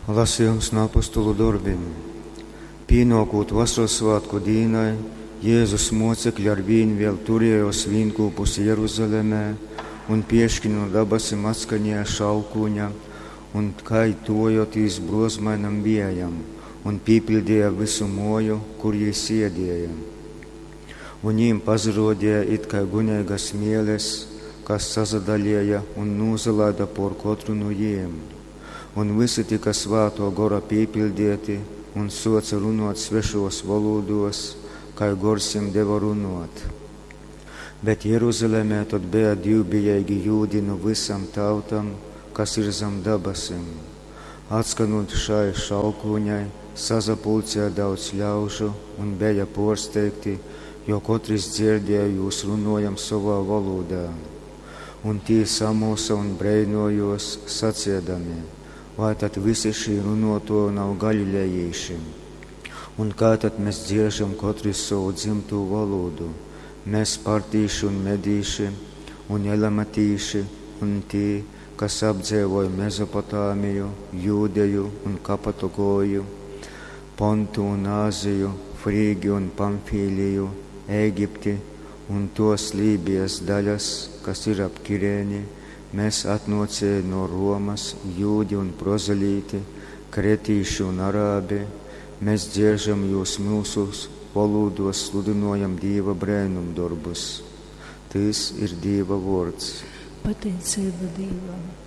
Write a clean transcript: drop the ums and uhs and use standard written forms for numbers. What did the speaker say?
Lasījums no apostolu dorbim. Pīnōkūt Vosorassvātku dīnai, Jēzus mōcekļi arvīn vēl turējōs vīnkūpus Jeruzalemē, un pieški nu dabasim atskanēja šalkūņa un kai tuvojotīs bruozmainam viejam, un pīpiļdeja vysu muoju, kur jī siedieja. Un jīm pasaruodeja it kai guneigas mieles, kas sasadalieja un nūsalaida puor kotru nu jīm. Un vysi tyka Svātuo Gora pīpiļdieti un suoce runuot svešuos volūduos, kai Gors jim deva runuot. Bet Jeruzalemē tod beja dīvbijeigi jūdi nu vysam tautam, kas ir zam dabasim. Atskanūt šai šalkūņai, sasapulcēja daudz ļaužu un beja pōrsteigti, jo kotris dzierdēja jūs runojam sovā volūdā. Un tī samulsa un breinōjōs, saceidami, Vai tad visi šī runōtōji nav galilejīši? Un kā tad mes dzieržam kotris sovu dzymtū volūdu, mes partīši un medīši, un elamatīši, un tī, kas apdzeivoj Mezopotāmiju, Jūdeju un Kapadokoju, Pontu un Āziju, Frīgiju un Pamfīliju, Ēgipti un tos Lībijas daļas, kas ir ap Kirēni, mēs atnōcēji no Romas, jūdi un prozelīti, kretīši un arābi, mēs dzieržam jūs myusu volūdos sludynojam Dīva breinumdorbus. Tys ir Dīva vōrds. Pateiceiba Dīvam.